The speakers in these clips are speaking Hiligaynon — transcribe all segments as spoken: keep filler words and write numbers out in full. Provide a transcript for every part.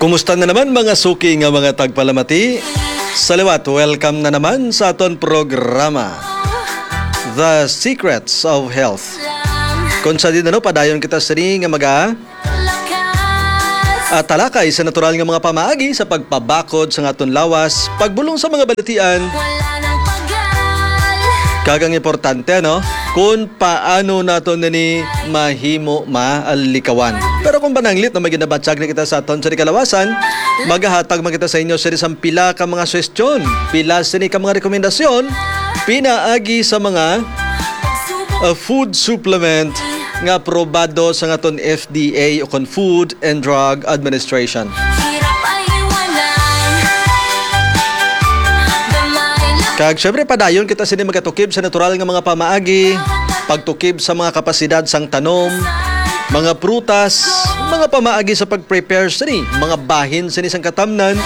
Kumusta na naman, mga suki nga mga tagpalamati? Sa liwat, welcome na naman sa aton programa, The Secrets of Health, kung sa din, ano, padayon kita sini nga maga at talakay sa natural nga mga pamaagi sa pagpabakod sa aton lawas, pagbulong sa mga balatian, kag ang importante, no, kung paano naton nini mahimo malikawan. Pero kung pananglit na may ginabatyag na kita sa aton sa kalawasan, magahatag man kita sa inyo sini sang pila ka mga suwestyon, pila sini ka mga rekomendasyon pinaagi sa mga, uh, food supplement nga aprobado sa aton F D A o kon Food and Drug Administration. Kag syempre, padayon kita sini magatukib sa natural nga mga pamaagi, pagtukib sa mga kapasidad sang tanom, mga prutas, mga pamaagi sa pag-prepare sini, mga bahin sini sang katamnan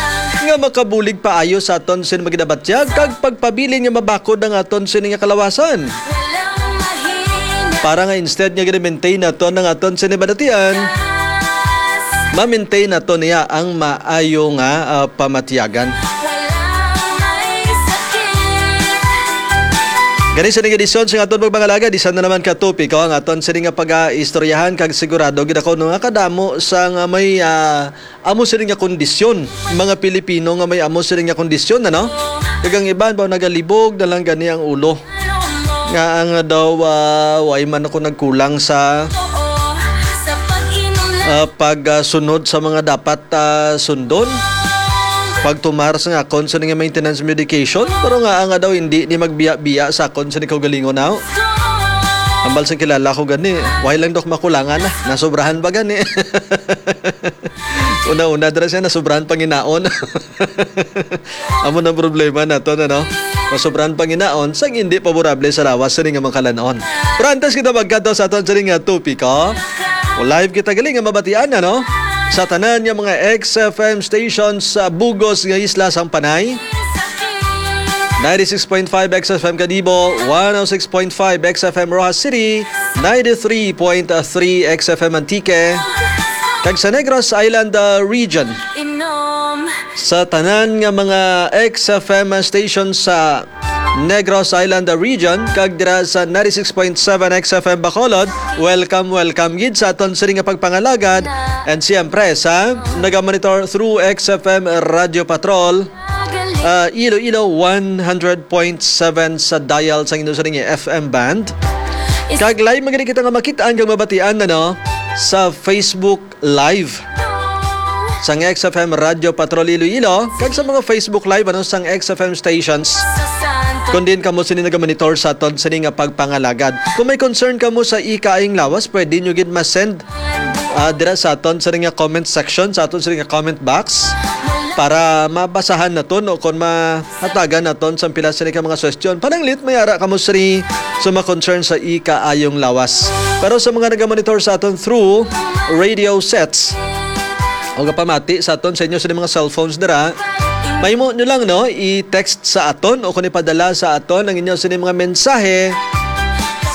nga makabulig paayo sa aton sini maginabatyag, kag pagpabilin nga mabakod ang aton sini nga kalawasan. Para nga instead nga gina-maintain naton ang aton sini balatian, ma-maintain naton niya ang maayo nga, ah, pamatyagan. Gani sa ning edisyon sa aton pagpangalagad, isa na naman ka topiko ang aton sini nga pag-aistoryahan, kag sigurado gid ako, no, nga kadamo sa nga may, ah, amo sini nga kondisyon, mga Pilipino nga may amo sini nga kondisyon, ano? Kag ang iban ba nagalibog na lang gani ang ulo. Nga ang daw, ah, way man ako nagkulang sa, ah, pag, ah, sunod sa mga dapat, ah, sundon. Pagtumar sa akon sa nga maintenance medication, pero nga, nga daw hindi ni magbiya-biya sa akon sa kaugalingon, aw. Ambal sa kilala ko gani, way lang daw makulangan na, nasobrahan ba gani? Una-una dira siya, nasobrahan panginaon. Amo na problema naton, ano? Masobrahan panginaon sang hindi paborable sa lawas sini nga mga kalanon. Pero antes kita magkadto sa aton sini nga topiko, o live kita gali nga mabatian, ano? Sa tanan nga mga X F M stations sa bugos nga isla sang Panay, ninety-six point five X F M Kadibo, one oh six point five X F M Roxas City, ninety-three point three X F M Antique, kag sa Negros Island, uh, region. Sa tanan nga mga X F M station sa Negros Island region, kag dira sa ninety-six point seven X F M Bacolod, welcome, welcome gid sa aton sini nga pagpangalagad. And siyempre sa nagamonitor through X F M Radio Patrol, ah, Iloilo one hundred point seven sa dial sang inyo sini nga F M band. Kag live man gani kita nga makit-an kag mabatian, ano, sa Facebook Live sang X F M Radio Patrol Iloilo, kag sa mga Facebook Live, ano, sang X F M stations. Kung diin kamo sini nagamonitor sa aton sini nga pagpangalagad. Kung may concern kamo sa ikaayong lawas, pwede nyo gid ma-send, ah, dira sa aton sini nga comment section, sa aton sini nga comment box, para mabasahan naton o kung mahatagan naton sa pila sini ka mga suwestyon. Pananglit, may ara kamo sini sa mga concern sa ikaayong lawas. Pero sa mga nagamonitor sa aton through radio sets, o gapamati sa aton sa inyo sa mga cellphones dira, mahimo nyo lang, no, i-text sa aton o kung ipadala sa aton ang inyo sini mga mensahe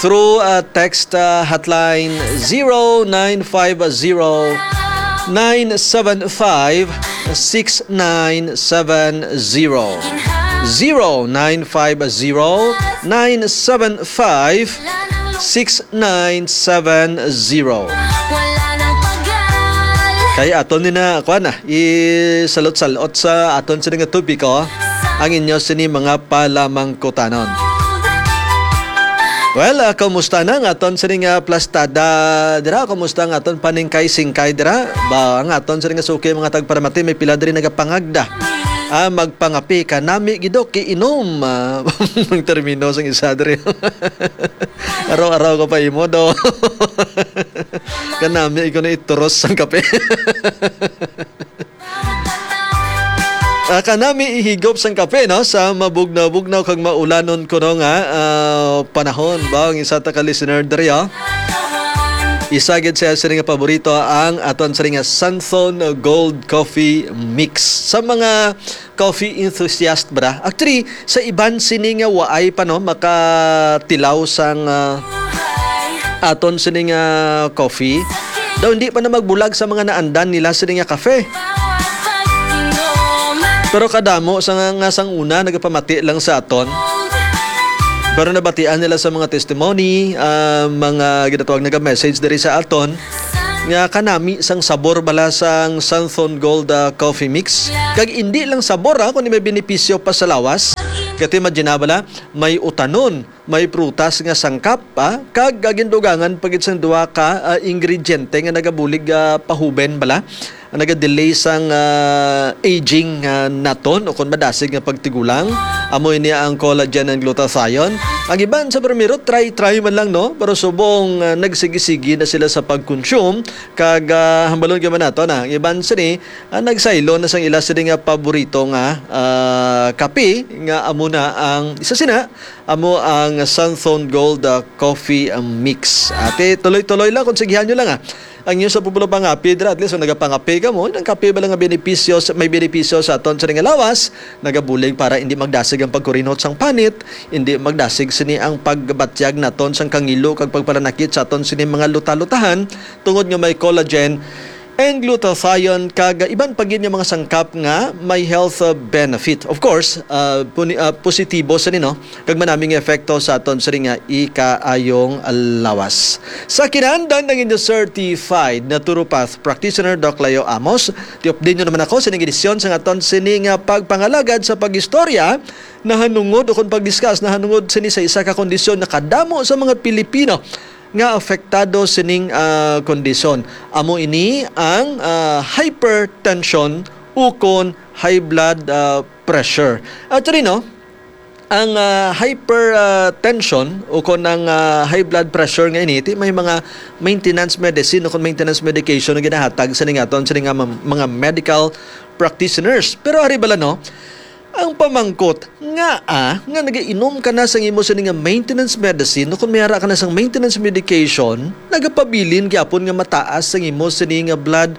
through, uh, text, uh, hotline zero nine five zero, nine seven five, six nine seven zero. Zero nine five zero, nine seven five, six nine seven zero. Kay aton ni na, kuan na, isalot-salot sa aton sini nga topiko ang inyo sini mga palamangkutanon. Well, ah, kumusta na ang aton sini nga plastada dira? Kumusta ang aton paningkay-singkay dira? Ba, ang aton sini nga suki, mga tagpalamati, may pila diri nagapangagda. Ah, magpangapi ka nami gid, Doc, iinom. Ah, ang termino sang isa diri. Araw-araw ko pa imo, do. Kanami ko na ituros ang kape. Ah, kanami ihigop sang kape, no, sa mabugnaw-bugnaw kag maulanon kuno nga, ah, panahon. Ba, ang isa ta ka listener diri, ah. Isa gid siya sini nga paborito ang aton sini nga Santhon Gold Coffee Mix. Sa mga coffee enthusiast, bra. Actually, sa iban sini nga waay pa, no, makatilaw sang, ah, aton sini nga coffee, daw hindi pa na magbulag sa mga naandan nila sini nga kafe. Pero kadamo sa nga, nga sang una nagapamati lang sa aton. Pero nabatian nila sa mga testimony, ah, mga ginatawag naga-message diri sa aton, nga kanami sang sabor bala sang Santhon Gold, ah, Coffee Mix. Kag indi lang sabor, ah, kundi may benepisyo pa sa lawas. Kati imagine bala, may utanon, may prutas nga sangkap, ah, kag, ah, gindugangan pa gid sang duha ka, ah, ingrediente nga nagabulig, ah, pahuben bala, naga-delay sang, ah, aging, ah, naton o kon madasig nga pagtigulang. Amo ini ang collagen and glutathione. Ang iban sa primero, try-try man lang, no? Pero subong, ah, nagsigi-sigi na sila sa pag-consume, kag, ah, hambalon gyud man nato na ang iban sini, ah, nagsaylo na sang ila sini nga paborito nga, ah, kape, nga amo na ang isa sina, amo ang Santhon Gold, ah, Coffee, ah, Mix. Ate, tuloy-tuloy lang, konsegihan nyo lang, ah. Ang inyo sa pupulo pangapi dira, at least kung nagapangapi ka mo, ang kape ba lang nga benepisyo sa, may benepisyo sa aton sa nga lawas, nagabulig para hindi magdasig ang pagkurinot sang panit, hindi magdasig sini ang pagbatyag naton sang kangilo kag pagpalanakit sa aton sini mga luta-lutahan, tungod nga may collagen and glutathione kag iban pa gid nga mga sangkap nga may health, uh, benefit. Of course, uh, puni-, uh, positibo sa nino kag manami nga epekto sa aton sini nga ikaayong lawas. Sa kinahanglan ang inyo certified naturopath practitioner, Doc Leo Amos, ti-update nyo naman ako sa ining edisyon sa aton sini nga pagpangalagad sa pag-istorya nahanungod o kung pag-discuss nahanungod sini sa isa ka kondisyon nga kadamo sa mga Pilipino nga apektado sining, ah, kondisyon. Amo ini ang, ah, hypertension ukon high blood, ah, pressure. Actually, no, ang, ah, hyper, ah, tension ukon ang, ah, high blood pressure nga ini, ti may mga maintenance medicine ukon maintenance medication nga ginahatag sa ningaton sa nga mam-, mga medical practitioners. Pero ari bala, no, ang pamangkot, ngaa nga nagainom ka na sang imo sini nga maintenance medicine, o kung may ara ka na sang maintenance medication, nagapabilin gyapon nga mataas sang imo sini nga blood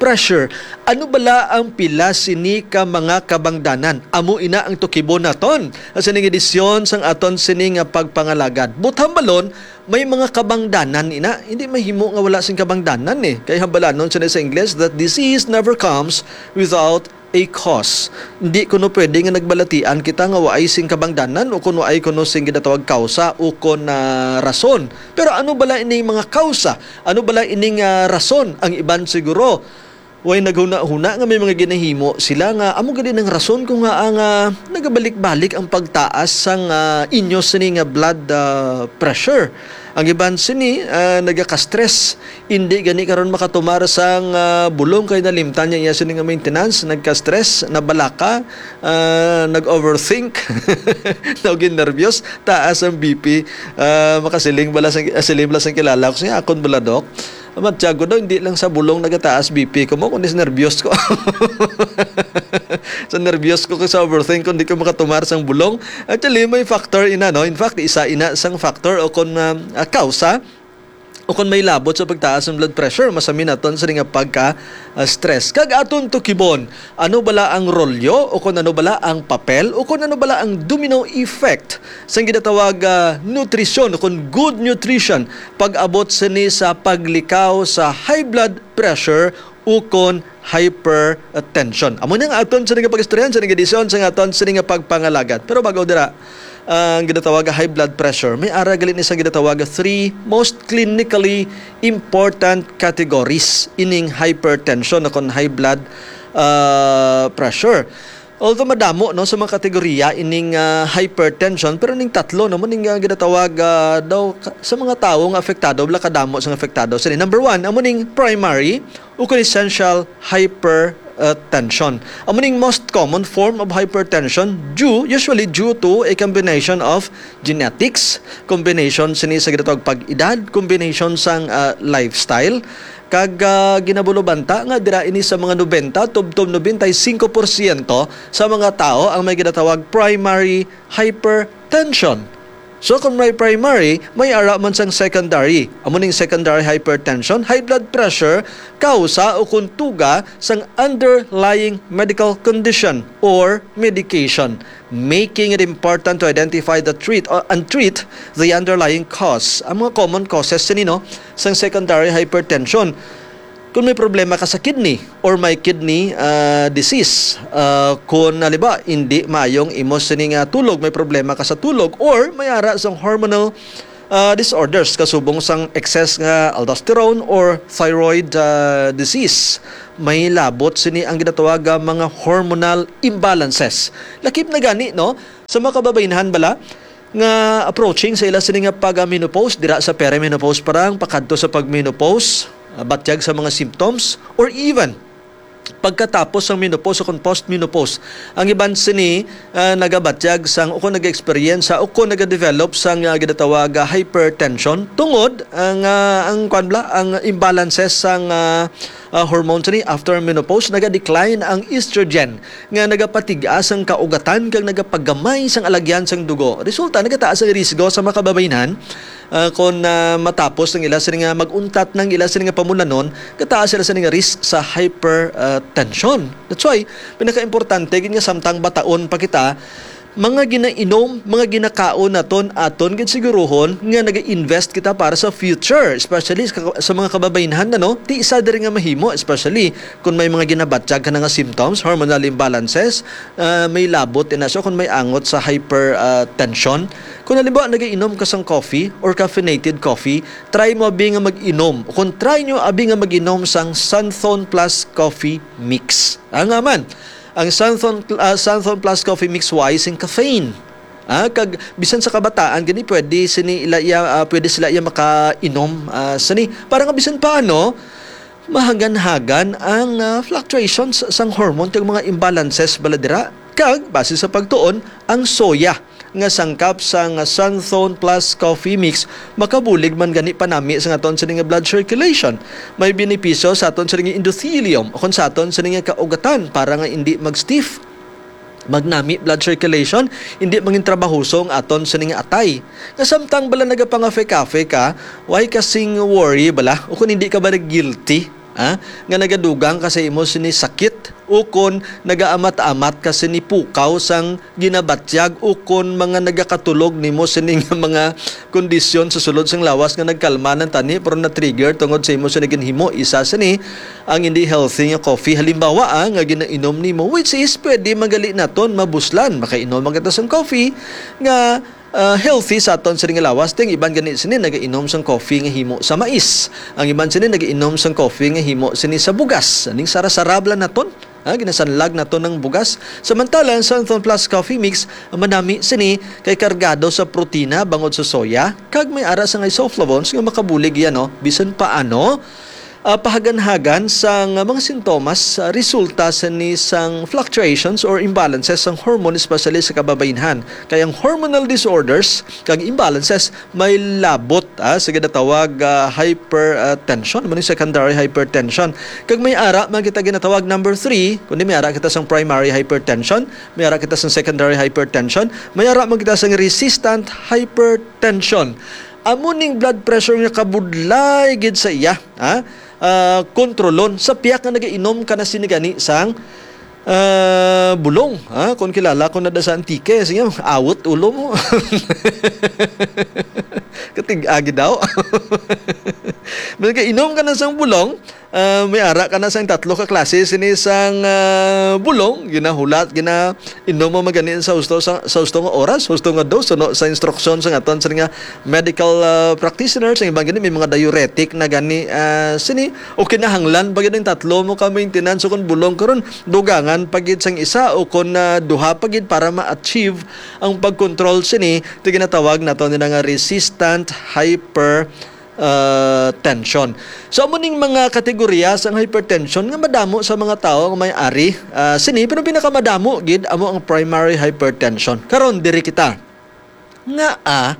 pressure? Ano bala ang pila sini ka mga kabangdanan? Amo ina ang tukibon naton sa sining edisyon sang aton sini nga pagpangalagad. But hambalon, may mga kabangdanan ina. Hindi mahimo nga wala sing kabangdanan, eh. Kay hambalanon sini sa Ingles that disease never comes without a cause. Hindi kuno pwede nga nagbalatian kita nga waay sing kabangdanan o kun waay kuno sing ginatawag kausa o kun, ah, rason. Pero ano bala ining mga kausa? Ano bala ining, ah, rason? Ang iban siguro, way naghuna-huna nga may mga ginahimo sila nga amo gani ang rason kung ngaa nga nagabalik-balik ang pagtaas sang, ah, inyo sini nga blood, ah, pressure. Ang iban sini, ah, nagaka-stress. Indi gani karon makatumar sang, ah, bulong kay nalimtan niya iya sini nga maintenance, nagka-stress, nabalaka, ah, nag-overthink, naging nervyos, taas ang B P. Ah, makasiling bala sang, ah, siling bala sang kilala ko siya, akon bala, Doc. Matyago daw, hindi lang sa bulong nagataas B P ko mo, kundi sa nervyos ko. Sa nervyos ko kag sa overthink ko, hindi ko makatumar sang bulong. Actually, may factor ina, no? In fact, isa ina sang factor o kung, ah, ah, kausa o kung may labot sa pagtaas ng blood pressure, masami naton sa nga pagka, ah, stress. Kag aton tukibon, ano bala ang rolyo o kung ano bala ang papel o kung ano bala ang domino effect sa ginatawag, ah, nutrisyon o kung good nutrition pag-abot sini sa paglikaw sa high blood pressure ukon hypertension. Amo ni ang aton sini nga pag-istoryahan sa edisyon sa aton sini nga pagpangalagad. Pero bago dira, ang ginatawag nga high blood pressure, may ara gali ni sa ginatawag nga three most clinically important categories ining hypertension o kon high blood, ah, pressure. Although madamo, no, sa mga kategorya ining, ah, hypertension, pero ning tatlo, no, mo ning, ah, ginatawag, ah, daw ka-, sa mga tawo nga apektado, wala kadamo sa nga apektado. Sini, number one, amo ning primary o kon essential hypertension. Amo ning most common form of hypertension due, usually due to a combination of genetics, combination sini sa ginatawag pag-edad, combination sang, ah, lifestyle, kag, ah, ginabulobanta nga dira ini sa mga nobenta tubtob nobenta y singko porsyento sa mga tawo ang may ginatawag primary hypertension. So, kung may primary, may ara man sang secondary. Amo ning secondary hypertension, high blood pressure, kausa o kung tuga sang underlying medical condition or medication, making it important to identify the treat, uh, and treat the underlying cause. Ang mga common causes sini, no, sang secondary hypertension. Kung may problema ka sa kidney or may kidney, ah, disease, ah, kung, halimbawa, hindi maayong imo sini nga tulog, may problema ka sa tulog, or may ara sang hormonal, ah, disorders kasubong sang excess nga aldosterone or thyroid, ah, disease, may labot sini ang ginatawag nga mga hormonal imbalances. Lakip na gani, no? Sa mga kababaynhan bala nga approaching sa ila sini nga pag-menopause, dira sa perimenopause pa lang, pakadto sa pag-menopause, ah, batyag sa mga symptoms, or even pagkatapos sang menopause o kung post-menopause. Ang iban sini, ah, nagabatyag sang, o kung nag-experience sa, o kung nagadevelop sang, ah, ginatawag, ah, hypertension tungod ang, ah, ang, kwan bala, ang imbalances sang, ah, ah, hormone sini after menopause, naga-decline ang estrogen nga nagapatig-as ang kaugatan kag nagapagamay sang alagyan sang dugo. Resulta, nagataas ang risgo sa mga kababaynhan, ah, kon, ah, matapos ang ila sini nga mag-untat ng ila sini nga pamulanon, gataas sila sini nga risk sa hypertension. That's why, pinakaimportante gid nga samtang bataon pa kita, mga ginainom, mga ginakaon naton, aton gid siguruhon nga nag-invest kita para sa future, especially sa, sa mga kababaynhan, ano? Ti isa diri nga mahimo, especially kung may mga ginabatyag ka na nga symptoms, hormonal imbalances, ah, may labot ina siya kung may angot sa hypertension. Kung halimbawa nagainom ka sang coffee or caffeinated coffee, try mo abi nga mag-inom. Kung try nyo abi nga mag-inom sang Santhon Plus Coffee Mix. Ang aman, ang Santhon, ah, Santhon Plus Coffee Mix wise in caffeine. Ah, kag bisan sa kabataan gani pwede sini ila iya, ah, pwede sila iya makainom, ah, sini para nga bisan paano mahaganhagan ang, ah, fluctuations sang hormone kag mga imbalances bala dira. Kag base sa pagtuon, ang soya nga sangkap sang Santhon Plus Coffee Mix makabulig man gani panami sa aton sini nga blood circulation. May benepisyo sa aton sini nga endothelium o kon sa aton sini nga kaugatan para nga indi mag-stiff, magnami blood circulation, indi mangintrabahoso ang aton sini nga atay. Nga samtang bala nagapangafekafe ka, why ka sing worry bala? O kung hindi ka ba guilty, ha? Nga nagadugang ka sa imo sini sakit, o kon nagaamat-amat ka sini pukaw sang ginabatyag, o kon mga nagakatulog nimo sini nga mga kondisyon sa sulod sang lawas nga nagkalma ng tani pero na-trigger tungod sa imo sini ginhimo. Isa sini ang hindi healthy nga coffee, halimbawa, ah, nga ginainom nimo, which is pwede magali naton mabuslan. Makainom man kita sang coffee nga, ah, healthy sa aton sini nga lawas. Ting iban gani sini nagainom sang coffee nga himo sa mais. Ang iban sini nagainom sang coffee nga himo sini sa bugas. Aning sarasarab lang naton, ha, ginasanlag naton ang bugas. Samantala, ang Santhon Plus Coffee Mix, manami sini kay kargado sa protina bangod sa soya, kag may ara sang isoflavones nga makabulig yan, no? Bisan paano, ah, pahaganhagan sang mga sintomas, ah, resulta sini sang fluctuations or imbalances sang hormone, especially sa kababaynhan. Kay ang hormonal disorders kag imbalances may labot, ah, sa ginatawag, ah, hypertension, amo ni secondary hypertension. Kag may ara man kita ginatawag number three, kundi may ara kita sang primary hypertension, may ara kita sang secondary hypertension, may ara man kita sang resistant hypertension. Amo ning blood pressure nga kabudlay gid sa iya, ha? Ah, kontrolon sa piyak nga nagainom ka na sini gani sang, ah, bulong, ha? Kung kilala ko na da sa Antique, sige, awot ulo mo. Katig-agi daw. Nagainom ka na sang bulong, ah, may ara ka na sang tatlo ka klase sini sang, ah, bulong, ginahulat, gina-, inom mo magani sa husto, sa, sa husto nga oras, husto nga dose, suno sa instruksyon sa aton sini nga medical, ah, practitioners. Ang iban gani may mga diuretic na gani, ah, sini, o kinahanglan pa gid ang tatlo mo ka maintenance. So, kung bulong karon, dugangan pa gid sang isa o kung, ah, duha pa gid para ma-achieve ang pagkontrol sini, ti ginatawag nato nila nga resistant hyper, ah, tension. So, amo ning mga kategorya sang hypertension nga madamo sa mga tawo nga may ari, ah, sini, pero pinakamadamo gid amo ang primary hypertension. Karon, diri kita. Nga, ah,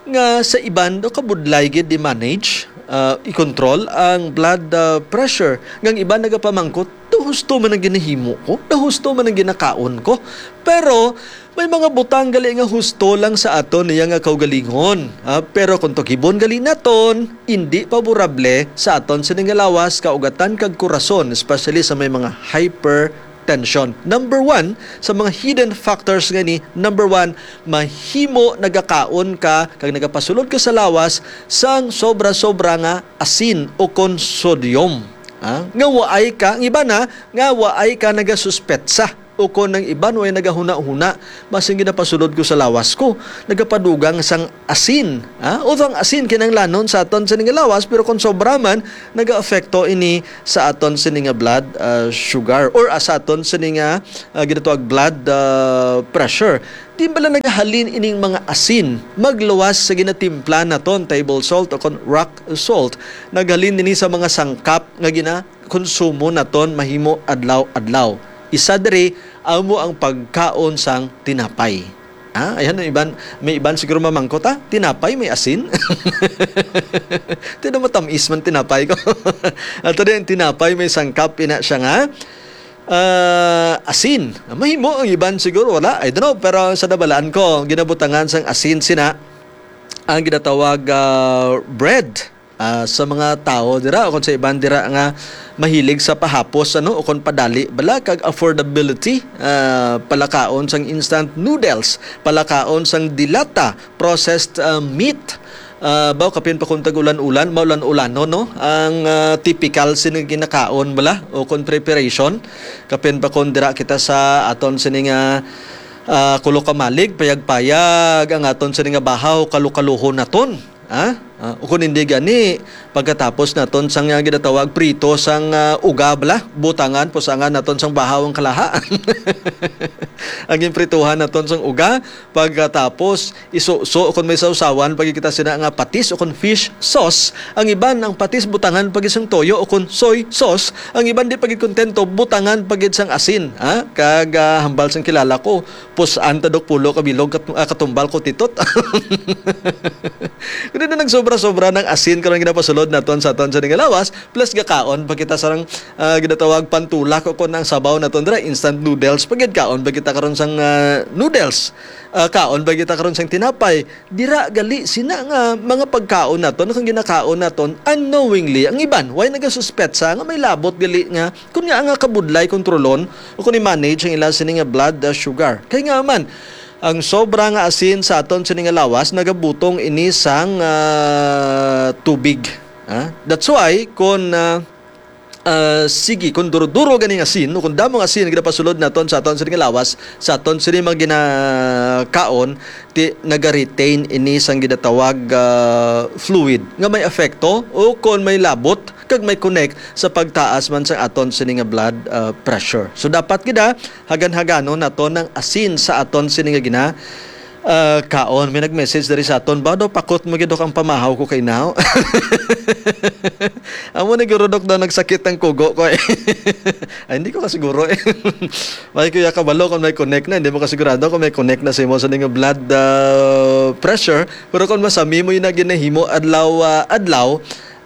nga sa iban daw kabudlay gid di manage, ah, i-control ang blood, ah, pressure. Nga ang iban nagapamangkot, "Daw husto man ang ginahimo ko? Daw husto man ang ginakaon ko?" Pero may mga butang gali nga husto lang sa aton niya nga kaugalingon. Ah, pero kung tugibon gali naton, indi paborable sa aton sini nga lawas, kaugatan kag kurason, especially sa may mga hypertension. Number one sa mga hidden factors nga ni, number one, mahimo nagakaon ka kag nagapasulod ka sa lawas sang sobra-sobra nga asin o kon sodium. Ah, nga waay ka, ang iban na, nga waay ka nagasuspetsa. O kon ang iban way nagahuna-huna, basin ginapasulod ko sa lawas ko, nagapadugang sang asin. Ah, although ang asin kinahanglanon sa aton sini nga lawas, pero kung sobra man, nagaapekto ini sa aton sini nga blood, ah, sugar, or, ah, sa aton sini nga, ah, ginatawag blood, ah, pressure. Di bala nagahalin ining mga asin magluwas sa ginatimpla naton, table salt o kon rock salt? Naghalin ini sa mga sangkap nga ginakonsumo naton mahimo adlaw-adlaw. Isa diri amo ang pagkaon sang tinapay. Ah, ayan ang iban, may iban siguro mamangkot, ah, tinapay may asin? Tino matamis man tinapay ko. Ato din, tinapay may sangkap ina siya nga, ah, asin. Mahimo ang iban siguro, wala. I don't know, pero sa nabalaan ko, ginabutangan sang asin sina ang ginatawag, ah, bread, ah, sa mga tawo dira o kung sa iban dira nga mahilig sa pahapos, ano, o kung padali bala kag affordability, ah, palakaon sang instant noodles, palakaon sang dilata, processed, ah, meat, ah, baw kapin pa kung tag-ulan-ulan, maulan-ulanon, no, ang, ah, typical sini ginakaon bala o kung preparation, kapin pa kung dira kita sa aton sini nga, ah, kulokamalig, payag-payag ang aton sini nga bahaw, kalukaluhon naton. Ha? Ah, o kung hindi gani, pagkatapos naton sang, ah, ginatawag prito sang, ah, uga bala, butangan, pusangan naton sang bahaw ang kalaha. Ang ginprituhan naton sang uga, pagkatapos isuso, kung may sawsawan, pag kita sina nga patis o kung fish sauce, ang iban ang patis butangan pag isang toyo o kung soy sauce, ang iban di pagid kontento, butangan pagid sang asin, ha? Kag, ah, hambal sang kilala ko, pus-an ta dok pulo ka bilog kat-, ah, katumbal ko titot. Kundi na nagsobra-sobra ng asin karon ginapasulod naton sa aton sa nga lawas, plus gakaon pa kita sa, ah, ginatawag pantulak o kung ang sabaw naton dira, instant noodles, pagid kaon pa kita karon sang, ah, noodles. Ah, kaon pa kita karon sang tinapay. Dira gali sina nga mga pagkaon naton, kung ginakaon naton unknowingly, ang iban way nagasuspetsa nga may labot gali nga kun nga nga kabudlay kontrolon o kun i-manage ang ila sini nga blood, ah, sugar. Kay nga man, ang sobra nga asin sa aton sini nga lawas nagabutong ini sang, ah, tubig. Ah, that's why kun, ah, ah, sige, kun duro-duro ganing asin o kun damo nga asin ang ginapasulod naton sa aton sini nga lawas, sa aton sini mga ginakaon, ti nagaretain ini sang ginatawag, ah, fluid nga may epekto o kon may labot kag may connect sa pagtaas man sang aton sini nga blood, ah, pressure. So dapat gid, ah, hagan-haganon naton ang asin sa aton sini nga gina, ah, kaon. May nag-message diri sa aton, "Ba daw pakot mo gid, Dok, ang pamahaw ko kay now?" Amo ni guro, Dok, daw nagsakit ang kugo ko, eh. Ay, hindi ko kasiguro, eh. May kuya kabalo kung may connect na, hindi mo kasigurado kung may connect na sa imo sa ning blood, ah, pressure. Pero kung masami mo yung na ginahimo adlaw, ah, adlaw,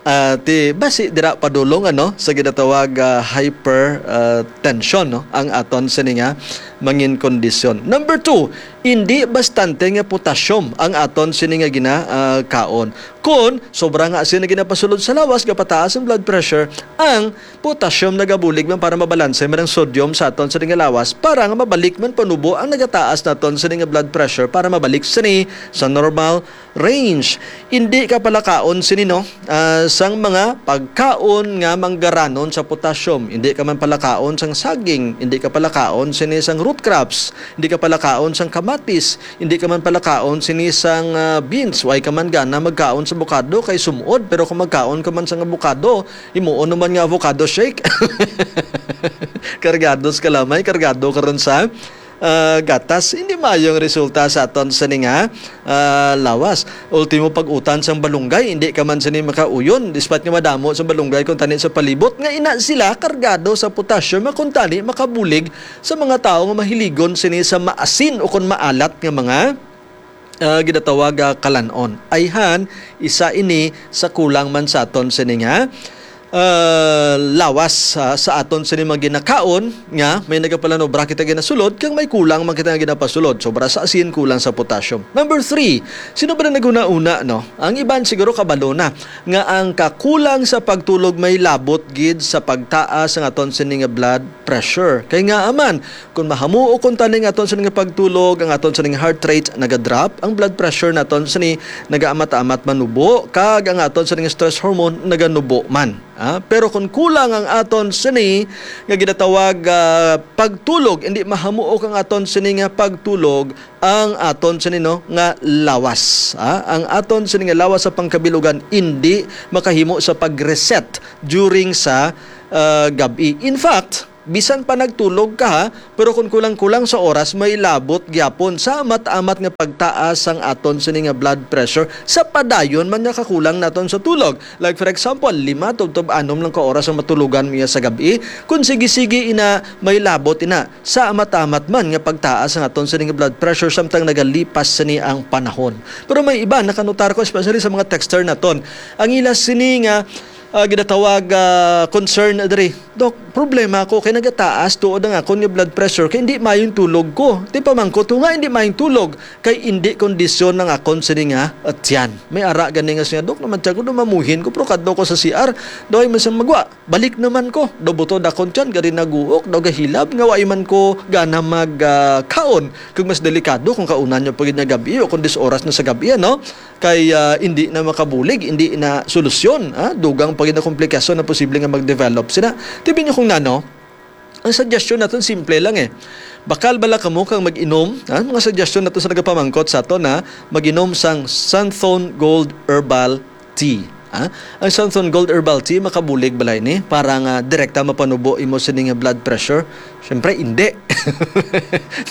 ah, ti basi dira padulong, ano, sa ginatawag, ah, hyper, ah, tension, no, ang aton sini nga mangin kondisyon. Number two, hindi bastante nga potassium ang aton sini nga gina, ah, kaon. Kun sobra nga asin ang ginapasulod sa lawas, gapataas ang blood pressure, ang potassium nagabulig man para mabalanse man ang sodium sa aton sini nga lawas, para nga mabalik man panubo ang nagataas naton sini nga blood pressure para mabalik sini sa normal range. Hindi ka palakaon sini, no, ah, sang mga pagkaon nga manggaranon sa potassium. Hindi ka man palakaon sang saging, hindi ka palakaon sini sang root crops, hindi ka palakaon sang kamatis, hindi ka man palakaon sini sang, ah, beans. Way ka man gana magkaon sa bukado kay sumod, pero kung magkaon ka man sang abukado, himuon naman nga avocado shake. Kargado sa kalamay, kargado karon sa, ah, gatas. Hindi maayo ang resulta sa aton sini nga, ah, lawas. Ultimo, pag-utan sang balunggay, hindi ka man sini makauyon, despite nga madamo sa balunggay kung tani sa palibot, nga ina sila kargado sa potassium, nga kung tani makabulig sa mga tawo nga mahiligon sini sa maasin o kon maalat nga mga, ah, ginatawag, ah, kalan-on. Ayhan, isa ini sa kulang man sa aton sini nga, ah, lawas, ah, sa aton sini mga ginakaon nga may nagapalanobra kita ginasulod kag may kulang man kita nga ginapasulod. Sobra sa asin, kulang sa potassium. Number three, sino ba na naguna-una, no? Ang iban siguro kabalo na nga ang kakulang sa pagtulog may labot gid sa pagtaas ang aton sini nga blood pressure. Kay nga aman, kung mahamuo kon tani nga aton sini nga pagtulog, ang aton sini nga heart rate naga-drop, ang blood pressure naton sini nagaamat-amat manubo, kag ang aton sini nga stress hormone naganubo man. Ah, pero kung kulang ang aton sini nga ginatawag, ah, pagtulog, hindi mahamuok ang aton sini nga pagtulog, ang aton sini, no, nga lawas. Ah, ang aton sini nga lawas sa pangkabilugan hindi makahimo sa pag-reset during sa, ah, gab-i. In fact, bisan pa nagtulog ka, ha, pero kung kulang-kulang sa oras, may labot gyapon sa amat-amat nga pagtaas sang aton sini nga blood pressure sa padayon man nga kakulang naton sa tulog. Like, for example, lima tubtob anom lang ka oras ang matulogan niya sa gab-i. Kung sige-sige ina, may labot ina sa amat-amat man nga pagtaas ang aton sini nga blood pressure samtang nagalipas sini ang panahon. Pero may iba, nakanutar ko, especially sa mga texter naton, ang ila sini nga, ah, ginatawag, ah, concern diri, "Dok, problema ko kay nagataas tuod ang akon nga blood pressure kay hindi mayong tulog ko." Ti pamangkot ko nga hindi mayong tulog kay hindi kondisyon ang akon sini nga, ah, tiyan. May ara gani nga siya, "Dok, naman tiyan ko, dumamuhin ko, pero kadto ko sa C R, daw ay masang magwa. Balik naman ko, daw butod akon tiyan, gari naguok, daw gahilab, nga wa man ko gana mag, ah, kaon. Kung mas delikado kung kaunan niyo pa gid nga gabi o kung dis oras na sa gabi, ano?" Kay, ah, hindi na makabulig, hindi na solusyon, ah, dugang pa gid na komplikasyon na posible nga mag-develop sina. Tibi niyo kung nano, ang suggestion naton simple lang eh. Bakal bala kamo kang mag-inom? Ah, mga suggestion nato sa nagapamangkot sa aton na mag-inom sang Santhon Gold Herbal Tea. Ah, ang Santhon Gold Herbal Tea makabulig bala ini para nga direkta mapanubo imo sini nga blood pressure? Siyempre, hindi.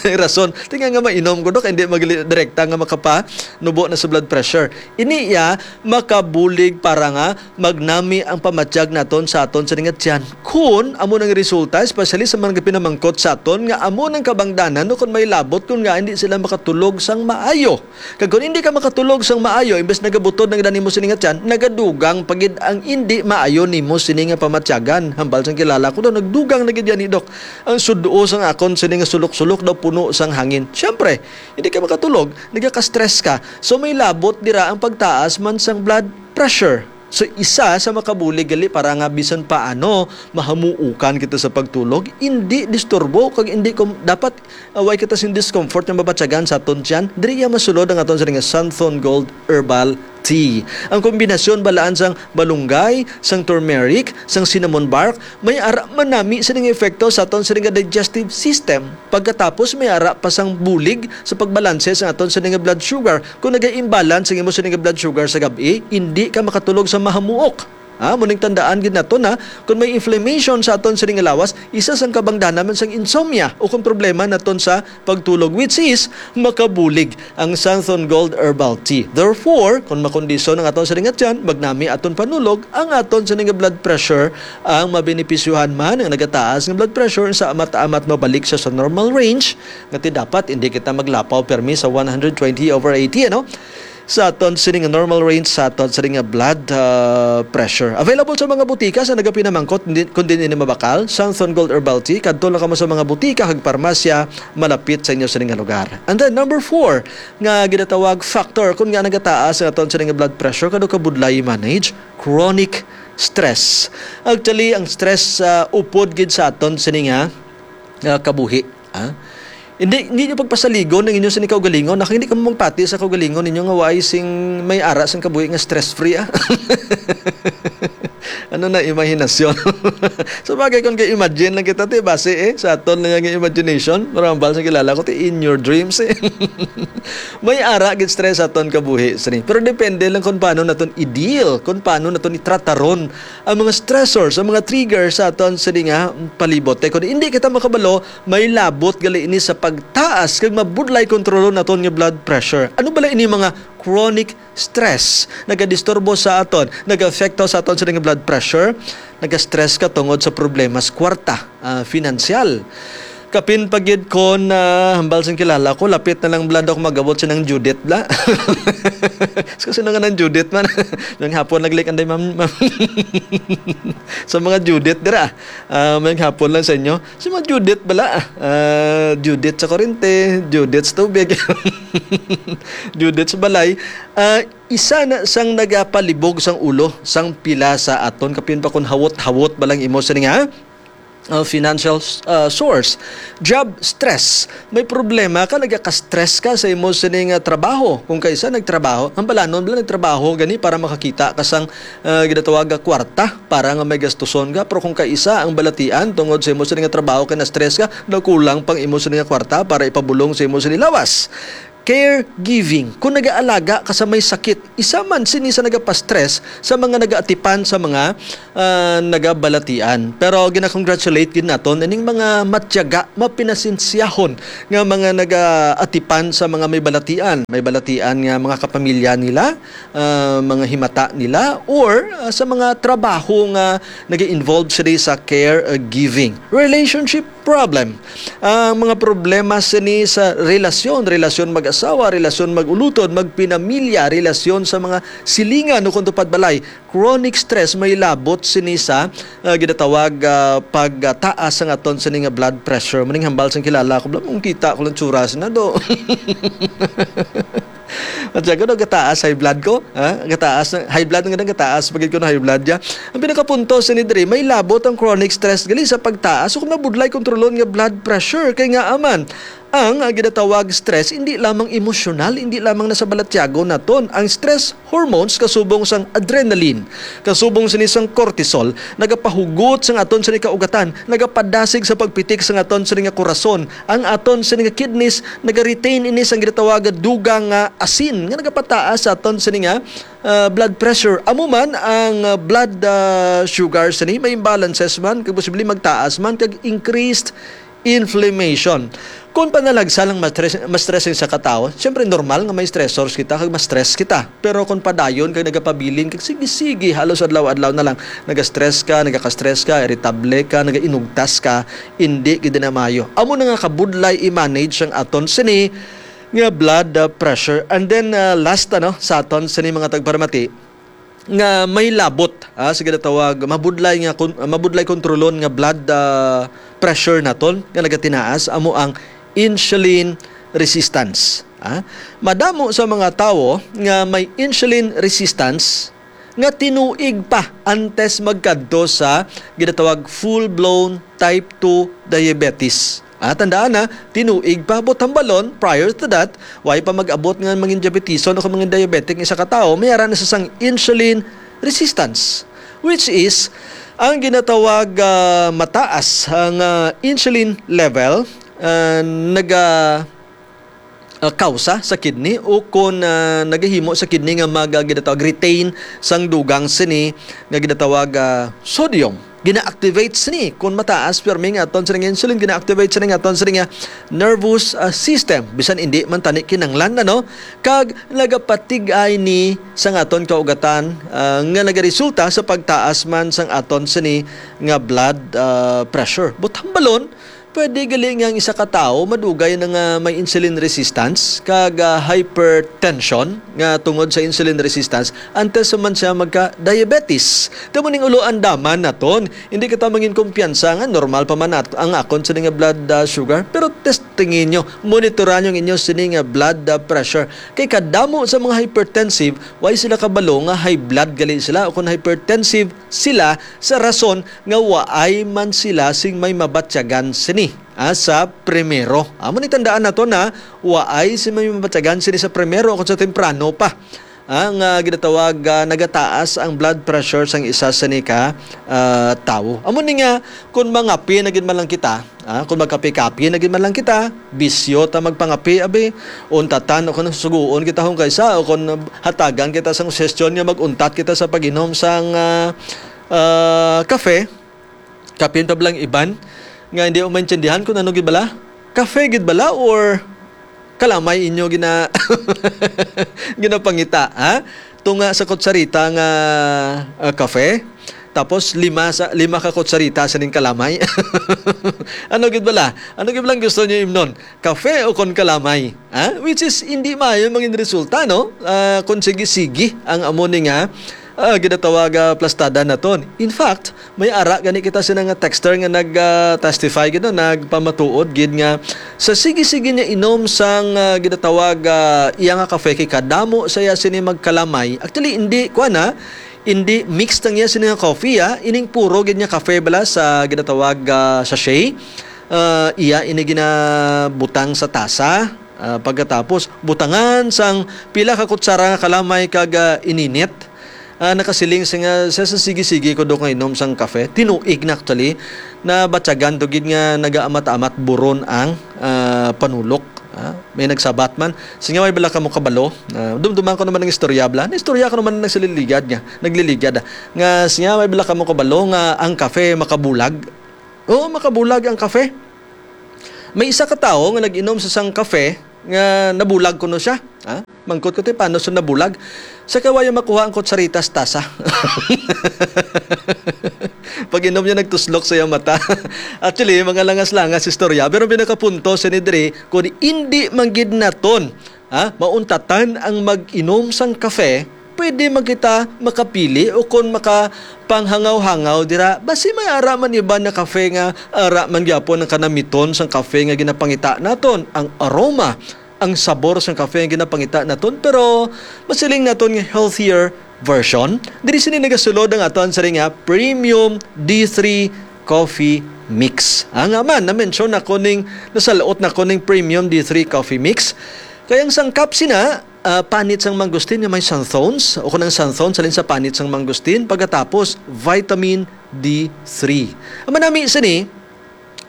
May rason. Tinga nga mainom ko, Dok, hindi magli-, direkta nga makapanubo na sa blood pressure. Ini iya makabulig para nga magnami ang pamatyag naton sa aton sini nga tiyan. Kun amo nang resulta, especially sa mga pinamangkot sa aton, nga amo nang kabangdanan no kun may labot kun nga hindi sila makatulog sang maayo. Kag kun hindi ka makatulog sang maayo, imbes nagabutod na gid nimo sini nga tiyan, nagadugang pa gid ang hindi maayo nimo sini nga pamatyagan. Hambal sang kilala ko daw, nagdugang na gid yan ni Dok. Ang sudo sang akon sini nga sulok-sulok daw puno sang hangin. Siyempre, hindi ka makatulog, nagaka-stress ka. So may labot dira ang pagtaas man sang blood pressure. So isa sa makabulig gali para nga bisan paano mahamuukan kita sa pagtulog, hindi disturbo kag hindi kom-, dapat, ah, way kita sing discomfort nga mabatyagan sa aton tiyan. Diri iya masulod ang aton sini nga Santhon Gold Herbal Tea. Ang kombinasyon balaan sang malunggay, sang turmeric, sang cinnamon bark, may ara manami sini nga epekto sa aton sini nga digestive system. Pagkatapos may ara pa sang bulig sa pagbalanse sa aton sini nga blood sugar. Kung naga-imbalance ang imo sini nga blood sugar sa gab-i, hindi ka makatulog sa mahamuok. Ha, muning tandaan gid nato na kung may inflammation sa aton sini nga lawas, isa sang kabangdanan man sang insomnia o kung problema naton sa pagtulog, which is makabulig ang Santhon Gold Herbal Tea. Therefore, kung makondisyon ang aton sini nga tiyan, magnami aton panulog, ang aton sini nga blood pressure ang mabenepisyohan man. Ang nagataas nga blood pressure sa amat-amat mabalik siya sa normal range, nga ti dapat hindi kita maglapaw permi sa one hundred twenty over eighty, ano? Sa aton sini nga normal range sa aton sini nga blood, ah, pressure. Available sa mga butika sa nagapinamangkot, hindi, kung din ini mabakal, Santhon Gold Herbal Tea, kadto lang kamo sa mga butika kag parmasya malapit sa inyo sini nga lugar. And then number four nga ginatawag factor kung nga nagataas ang aton sini nga blood pressure, kado kabudlay i-manage, chronic stress. Actually, ang stress, ah, upod gid sa aton sini nga, ah, kabuhi. Ah? Hindi, hindi niyo pagpasaligon ang inyo sini kaugalingon. Naka, hindi kamo magpati sa kaugalingon ninyo nga waay sing may ara sang kabuhi nga stress-free, ah. Ano na imahinasyon? Sa bagay, kung kay imagine lang kita, ti, base, eh, sa aton lang nga imagination, marambal sa kilala ko, ti, in your dreams, eh. May ara gid stress sa aton kabuhi, sini. Pero depende lang kung paano naton i-deal, kung paano naton itrataron ang mga stressors, ang mga triggers sa aton sini nga palibot. Kay kung hindi kita makabalo, may labot gali ini sa pagtaas kag mabudlay kontrolon naton nga blood pressure. Ano bala ini mga chronic stress? Nagadisturbo sa aton, nag-afekto sa aton sini nga blood pressure, nag-stress ka tungod sa problema sa kwarta, ah, finansyal. Kapin pa gid kon, ah, hambal sing kilala ko, lapit na lang bala daw mag-abot sinang Judith bala. Kasi na nga nang Judith man. Ngayong hapon naglik anday, ma'am, ma'am. Sa mga Judith dira, ah, ngayong hapon lang sa inyo. Si mga Judith bala, ah, Judith sa kurente, Judith sa tubig, Judith sa balay. Ah, isa na sang nagapalibog sang ulo sang pila sa aton, kapin pa kon hawot-hawot ba lang imo sini nga uh, financial uh, source. Job stress. May problema ka, nagaka-stress ka sa imo sining uh, trabaho. Kung kaisa nagtrabaho, ang balanon bala nagtrabaho gani para makakita ka sang uh, ginatawag nga kwarta para nga may gastuson ka. Pero kung kaisa ang balatian tungod sa imo sining nga trabaho kay na-stress ka, nakulang pang imo sining nga kwarta para ipabulong sa imo sining lawas. Caregiving, kung nagaalaga ka sa may sakit, isa man sini sa nagapastress sa mga nagaatipan sa mga ah, nagabalatian. Pero gina-congratulate gid naton ining mga matyaga, mapinasinsyahon nga mga nagaatipan sa mga may balatian, may balatian nga mga kapamilya nila, ah, mga himata nila, or ah, sa mga trabaho nga nag-involve sila sa care uh, giving. Relationship problem. Ang mga problema sini sa relasyon, relasyon mag-asawa, relasyon mag-ulutod, magpinamilya, relasyon sa mga silingan o kung tupad balay. Chronic stress may labot sini sa ah, ginatawag ah, pagtaas sang aton sini nga blood pressure. Maning hambal sang kilala ko, bla, mong kita ko lang tsura sina do. At siya, gataas high blood ko? Ha? Gataas na, high blood nga gataas, pagid ko na high blood ya. Ang pinakapunto sini diri, may labot ang chronic stress gali sa pagtaas o kung mabudlay kontrolon nga blood pressure. Kay nga aman, ang ah, ginatawag stress, hindi lamang emosyonal, hindi lamang na sa balatyagon naton. Ang stress hormones kasubong sang adrenaline, kasubong sini sang cortisol, nagapahugot sang aton sini kaugatan, nagapadasig sa pagpitik sang aton sini nga korason, ang aton sini nga kidneys, naga-retain ini sang ginatawag nga dugang nga asin nga nagapataas sa aton sini nga ah, blood pressure. Amo man ang ah, blood ah, sugar sini may imbalances man kag posible magtaas man kag increased inflammation. Kung panalagsa lang ma-stress, ma-stressing sa katawo, siyempre normal nga may stressors kita kag ma-stress kita. Pero kung padayon kag nagapabilin kag sige-sige halos adlaw-adlaw na lang, naga-stress ka, nagaka-stress ka, irritable ka, nagainugtas ka, hindi gid na maayo. Amo na nga kabudlay i-manage ang aton sini nga blood uh, pressure. And then uh, last ano sa aton sini mga tagparamati, nga may labot, ah, sa ginatawag mabudlay nga kon-, mabudlay kontrolon nga blood ah, pressure naton nga nagatinaas, amo ang insulin resistance. Ah. Madamo sa mga tawo nga may insulin resistance nga tinuig pa antes magkadto sa ginatawag full-blown type two diabetes. Ah, tandaan na, tinuig pa, but hambalon, prior to that, way pa mag-abot nga mangin diabetison o mangin diabetic isa ka tawo, may ara na sa sang insulin resistance, which is ang ginatawag ah, mataas ang ah, insulin level ah, naga ah, kausa sa kidney o kon ah, nagahimo sa kidney nga mag ah, ginatawag retain sang dugang sini nga ginatawag ah, sodium. Gina-activate sini kon mataas pirmi nga aton sini nga insulin, gina-activate sini nga aton sini nga nervous ah, system, bisan indi man tani kinanglan na, no? Kag nagapatig-ay ni sang aton kaugatan ah, nga nagaresulta sa pagtaas man sang aton sini nga blood ah, pressure. But hambalon, pwede gali nga ang isa ka tawo madugay na nga may insulin resistance kag ah, hypertension nga tungod sa insulin resistance antes sa man siya magka-diabetes. Tamo ning ulo andaman naton. Hindi kita mangin kumpiyansa nga normal pa man at ang akon sini nga blood ah, sugar. Pero testingin nyo, monitoran nyo ang inyo sini nga blood ah, pressure. Kay kadamo sa mga hypertensive, why sila kabalo nga high blood gali sila o kung hypertensive sila sa rason nga waay man sila sing may mabatyagan sini ah, sa primero. Amo ni tandaan nato na waay si may mabatyagan sini sa primero kung sa temprano pa. Ah, nga ginatawag ah, nagataas ang blood pressure sang isa sa ni ka ah, tawo. Amo ni nga kung mangapi na gid man lang kita, ah, kung magkapi-kapi na gid man lang kita, bisyo ta magpangapi, abi, untatan o kung susuguon kita hong kaysa o kung hatagan kita sang suggestion nga mag-untat kita sa pag-inom sang ah, ah, kafe, kapin pa bala ang iban nga hindi mo maintindihan kung ano gid bala? Kafe gid bala or kalamay inyo gina ginapangita, ha? Tunga sa kutsarita nga ah, kafe, tapos lima sa lima ka kutsarita sa ning kalamay. Ano gid bala? Ano gid bala ang gusto niyo imnon? Kafe o kon kalamay? Ha? Which is hindi maayo mangin resulta, no? Ah, kung sige-sige ang amo ni nga ah, ginatawag ah, plastada naton. In fact, may ara gani kita sina nga texter nga nag ah, testify gid, no? Nagpamatuod gid nga sa sige-sige niya inom sang ah, ginatawag ah, iya nga kafe kay kadamo saya sini magkalamay. Actually, hindi, kuan, ha? Indi mix ang iya sini nga coffee, ah. Ining puro gid nga kafe bala sa ginatawag, ah, sachet. Ah, iya ini ginabutang sa tasa. Ah, pagkatapos, butangan sang pila ka kutsara nga kalamay kag, ah, ininit. Ah, nakasiling siya nga, siya sa sige-sige ko daw nga inom sang kafe. Tinuig na actually. Nabatyagan to gid nga nagaamat-amat buron ang, ah, panulok. Ah, may nagsabat man. Sige, may bala kamo kabalo. Ah, dumduman ko naman ang istorya, bala. Istorya ko naman ang nagsaliligad nga. Nagliligad, ah. Nga, sige, may bala kamo kabalo nga ang kafe makabulag. Oo, makabulag ang kafe. May isa ka tawo nga nag-inom sa sang kafe nga nabulag kuno siya. Ha? Mangkot ko, "Te, paano siya nabulag?" Sa kawaya makuha ang kutsaritas tasa. Pag-inom niya, nagtuslok sa iyang mata. Actually, mga langas-langas istorya. Pero ang pinakapunto, sini diri, kung hindi man gid naton, ha, mauntatan ang mag-inom sang kafe, pwede man kita makapili o kon makapanghangaw-hangaw dira. Basi may ara man iban nga kafe nga ara man gyapon ang kanamiton sang kafe nga ginapangita naton, ang aroma, ang sabor sang kafe nga ginapangita naton, pero masiling naton nga healthier version. Diri sini nagasulod ang aton sini nga Premium D three Coffee Mix. Ang man, na-mention nako ning, nasalot nako ning Premium D three Coffee Mix. Kay ang sangkap sina, ah, panit sang mangustin nga may xanthones, o kung ang xanthones halin sa panit sang mangustin, pagkatapos vitamin D three. Ang manami sini,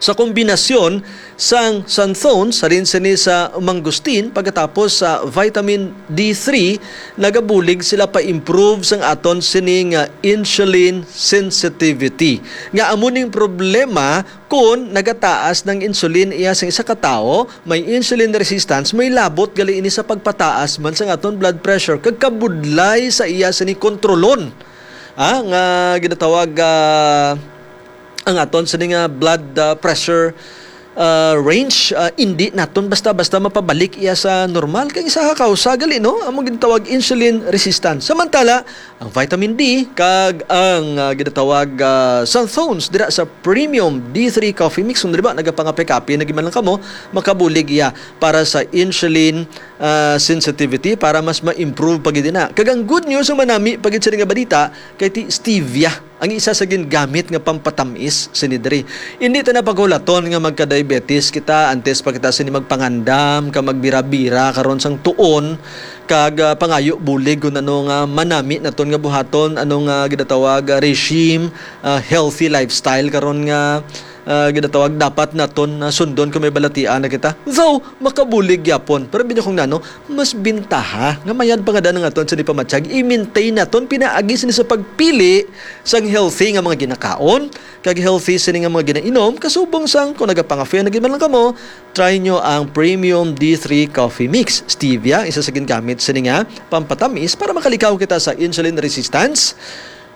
sa kombinasyon sang xanthones, halin sini sa mangustin, pagkatapos sa vitamin D three, nagabulig sila pa-improve sang aton sini nga insulin sensitivity. Nga amo ning problema kon nagataas ng insulin iya sang isa ka tawo, may insulin resistance, may labot gali ini sa pagpataas man sang aton blood pressure, kag kabudlay sa iya sini kontrolon. Ah, nga ginatawag, ah, ang aton sini nga blood, ah, pressure, ah, range, ah, indi naton basta-basta mapabalik iya sa normal. Kay isa ka kausa gali, no? Amo ginatawag insulin resistance. Samantala, ang vitamin D kag ang, ah, ginatawag, ah, xanthones dira sa Premium D three Coffee Mix, kung di ba, nagapangape-kape na gid man lang kamo, makabulig iya para sa insulin, ah, sensitivity, para mas ma-improve pa gid na. Kag ang good news, ang manami pa gid sini nga balita, kay ti stevia ang isa sa gingamit nga pampatamis sini diri. Hindi ta na paghulaton nga magka-diabetes kita antes pa kita sini magpangandam ka magbira-bira karon sang tuon, kag, ah, pangayo bulig kung ano nga manami naton nga buhaton, ano nga ginatawag, ah, regime, ah, healthy lifestyle karon nga, ah, ginatawag dapat naton, ah, sundon kung may balatian na kita. Though, makabulig gyapon. Pero binya kung nano, mas bintaha nga mayad pa nga daan ang aton sini pamatyag, i-maintain naton pinaagi sini sa pagpili sang healthy nga mga ginakaon, kag healthy sini nga mga ginainom, kasubong sang kung nagapangafe na gid man lang kamo, try nyo ang Premium D three Coffee Mix. Stevia, isa sa gingamit sini nga pampatamis para makalikaw kita sa insulin resistance,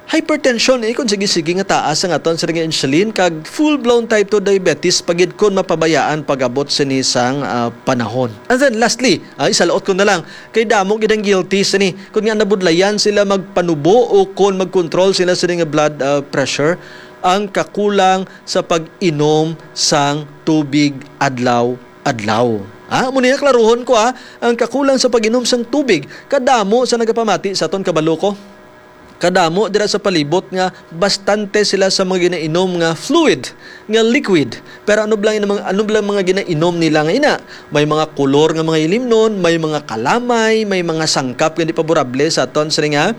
hypertension, eh, kung sige-sige nga taas ang aton sini nga insulin, kag full-blown type two diabetes pa gid kung mapabayaan pag-abot sini sang, ah, panahon. And then lastly, ah, isalaot ko na lang, kay damo gid ang guilty sini. Kung nga nabudlayan sila magpanubo o kung mag-control sila sini nga blood, ah, pressure, ang kakulang sa pag-inom sang tubig adlaw-adlaw. Ah, amo niya, klaruhon ko, ah, ang kakulang sa pag-inom sang tubig. Kadamo sa nagapamati sa aton, kabalo ko. Kadamo dira sa palibot nga bastante sila sa mga ginainom nga fluid, nga liquid. Pero ano bala ang mga, ano bala ang mga ginainom nila nga ina? May mga kulor nga mga ilimnon, may mga kalamay, may mga sangkap nga di paborable sa aton sini nga,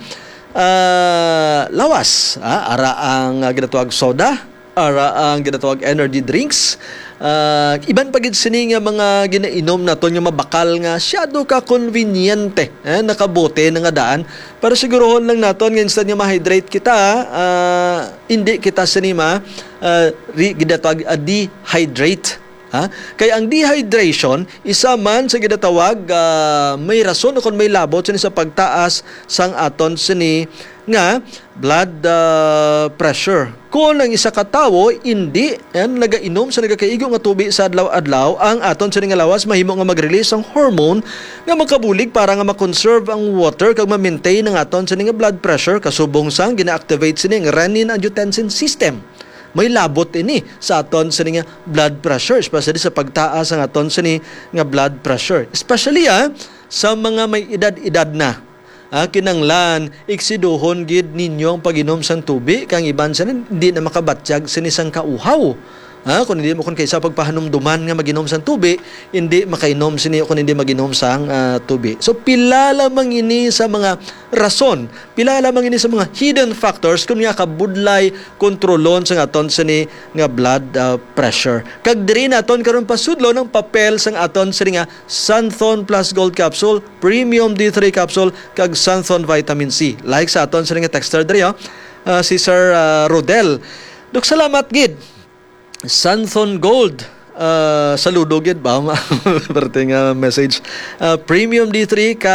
ah, lawas. Ah, ara ang, ah, ginatawag soda, ara ang ginatawag energy drinks. Ah, iban pa gid sini nga mga ginainom naton nga mabakal nga syado ka konbinyente, eh, nakabote na nga daan. Pero sigurohon lang naton nga instead nga ma-hydrate kita, ah, hindi kita sini ma, ah, re-, ginatawag, ah, dehydrate. Ha? Kay ang dehydration, isa man sa ginatawag, ah, may rason o kon may labot sini sa pagtaas sang aton sini nga blood, ah, pressure. Kon ang isa ka tawo indi, eh, nagainom sa nagakaigo nga tubig sa adlaw-adlaw, ang aton sini nga lawas mahimo nga mag-release sang hormone nga makabulig para nga ma-conserve ang water kag ma-maintain ang aton sini nga blood pressure, kasubong sang gina-activate sini ang renin-angiotensin system. May labot ini sa aton sini nga blood pressure, especially sa pagtaas ang aton sini nga blood pressure. Especially, ah, sa mga may edad-edad na. Ah, kinanglan, iksiduhon gid ninyo ang pag-inom sang tubi, kay ang iban sila hindi na makabatyag sini sang kauhaw. Ah, kung hindi mo, kung kaysa pagpahanumduman nga mag-inom sang tubi, hindi makainom sini kung hindi mag-inom sang, ah, tubi. So, pila lamang ini sa mga rason, pila lamang ini sa mga hidden factors kung nga kabudlay kontrolon sang aton sini nga blood, ah, pressure. Kag diri naton karon pasudlon ang papel sang aton sini nga Santhon Plus Gold Capsule, Premium D three Capsule, kag Santhon Vitamin C. Like sa aton sini nga texter diri, oh. Ah, si Sir, ah, Rodel. Dok, salamat gid. Santhon Gold. Ah, saludo gid ba? Parte nga message. Ah, Premium D three ka